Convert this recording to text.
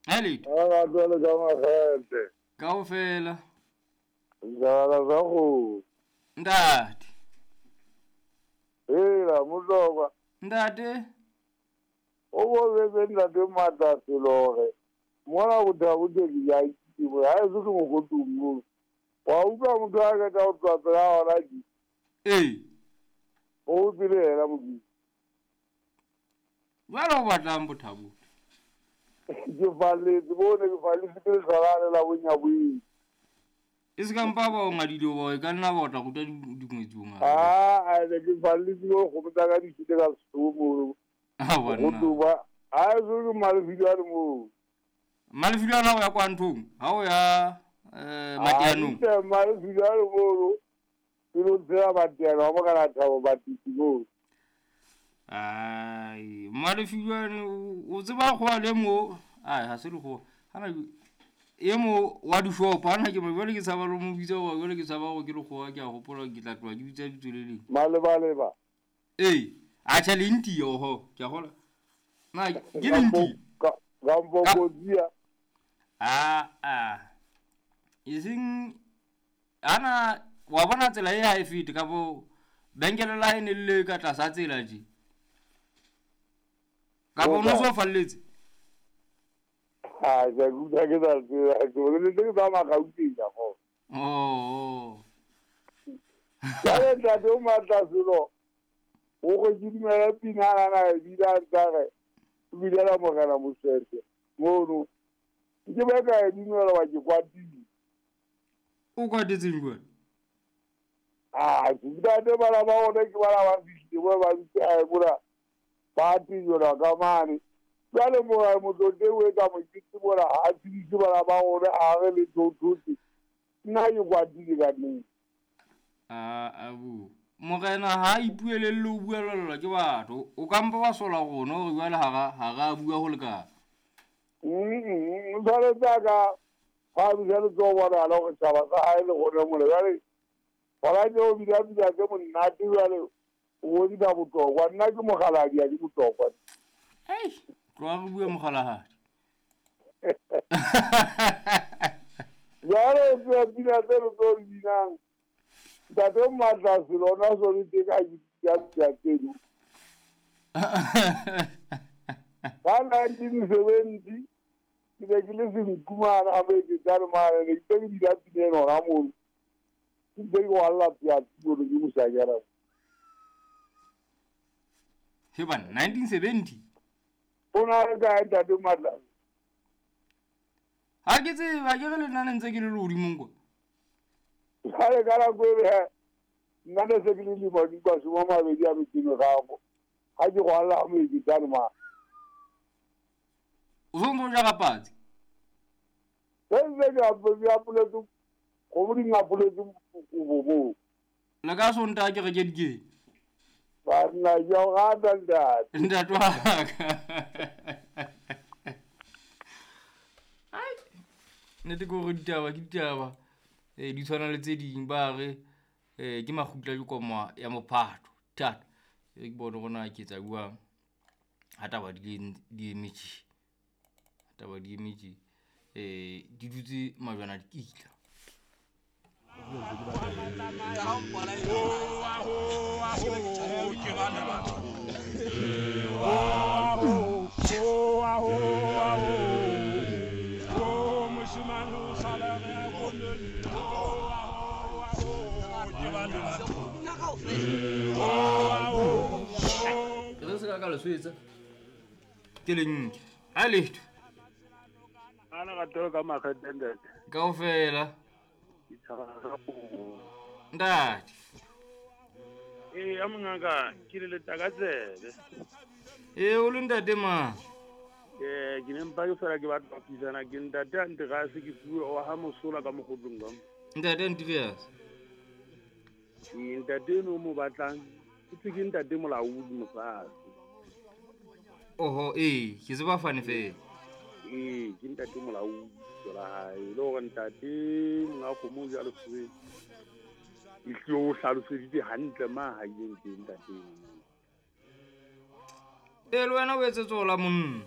Haletho. A ba tswale ka makgethe. Kaofela. Jala sa go. Ntate. Hela motlokwa. Ntate. O boletse ntate matla selo gore mona bothabothe ke ja itse ha e se ke mokotung mo. Wa utlwa motho a ka tla o tswa pela hona ke. Ee. O tsile hela modimo. Jwale o batlang bothabothe? Ke falletse bone ke falletse ke letlholane la bonyaboeng. E se ka mpa ba o ngadile ba e ka nna ba o tla ruta dingwetsi o ngaka. Ah, a ne ke falletse bo kgomo tsa ka di shite ka Sesotho mono. Ah, banna. Go tloba. Ha e se ke Malefilwane moo. Malefilwane ha o ya kwa nthong, ha o ya Mateanong. Ah, Malefilwane mono. Ke lo tsela Mateano, ha mo kana thabo batisi moo. Ai, Malefilwane o tseba go le mo. Ai, ha se le go. Hana e mo wa dishopo hana ke mo jwale ke tshaba lo mo bitsa wa jwale ke tshaba go ke le go ke a gopola ke tla tloha ke bitsa bitso le leng. Malebaleba. Ee, a tjha le nti oho, ke a gola. Na ke le nti. Ka mpokodia. Ah ah. Iseng ana wa bona tsela e ha e fete ka bo benkele la e ne le ka tlasa tsela je. Ka bo no so falletse. Ah, ke utlwa ke sa tseba, ke boletse ke tsamaya Gauteng ka go. Oh. Jwale ntate o matla selo. O go ke dumela pina na e bina ntare. O bilela morena Mosese. Mono. Ke ba ka e dumela wa ke kwatile. O kwatetseng jwale? Ah, ke ntate bana ba ona ke bana ba fihlile bo ba ntse a bora. Ba tijora ka mane. Jwale mora motlote o etsa mokete mona ha tsebise bana ba rona a re le thothote. Nna ke kwatile ka nnete. Ah, abu. Morena ha ipuelelle o buelellwa ke batho. O ka mpa wa sola rona hore jwale ha ra bua ho lekana. Jwale tsa ka ha bua le tso bona la hore tjhaba sa hae le rona mona. Jwale hona ke o bina bina tse monate jwale o bontsha botlhokwa. Nna ke mokgaladi ha ke botlhokwa. Ei, tloha re bue mokgalahadi. Jwale o tseba pina tse re tlo di binang. Ntate Matla selo ona so le teng a ke pina tseno. Ka 1970 ke ne ke le senkumana a Moeketsane mane, ne ke tse ke bina pina ena hona mono. Ke ntse ke kwalla piatsi mono ke moshanyana. He bana, 1970? O na le kae ntate Matla? Ha ke tsebe, ke re le nna ne ntse ke le lehodimong kwa. Jwale ka nako e he, nna ne se ke le lemo di mashome a mabedi a metso e meraro. Ha ke kwalla ha Moeketsane mane. O so ntso jara patsi? Se ntse ke apoletse, kgomo di ngapoletse kobo moo. Le ka Sontaha ke reke dikete. Banna, ke a o rata ntate. Ntate wa ka. Ai, nnete ke hore ditaba ke ditaba. Di tshwana le tse ding ba re ke makgutla ke koma ya mophato. Thata. E ke bone hore na ke etsa jwang. Ha taba di eme tje. Ha taba di eme tje. Di dutse majwana dikitla. Re se ka le swetsa. Ke le nke. Ha letho. Ana ka tlo ka makgethe ntate. Kaofela. Ntate. Ee, a mongaka ke le leta ka tsebe. Ee, o le ntate mang? Ee, ke ne mpa ke fela ke batla ho thuisana ke ntate Andreas ke fuwe wa ha Mosola ka mokgotlong ka mo. Ntate Andreas. Ee, ntate eno o mo batlang ke thwe ke ntate Molaodi Mosase. Oho, ee, ke tseba fane fela. Ee, ke ntate Molaodi lebitso la hae. Le hore ntate monga kgomo o ja lefubeng. Ehlile o hlaloseditse hantle ma ha ileng teng ntate. Ee, le wena o etsetse hola monna.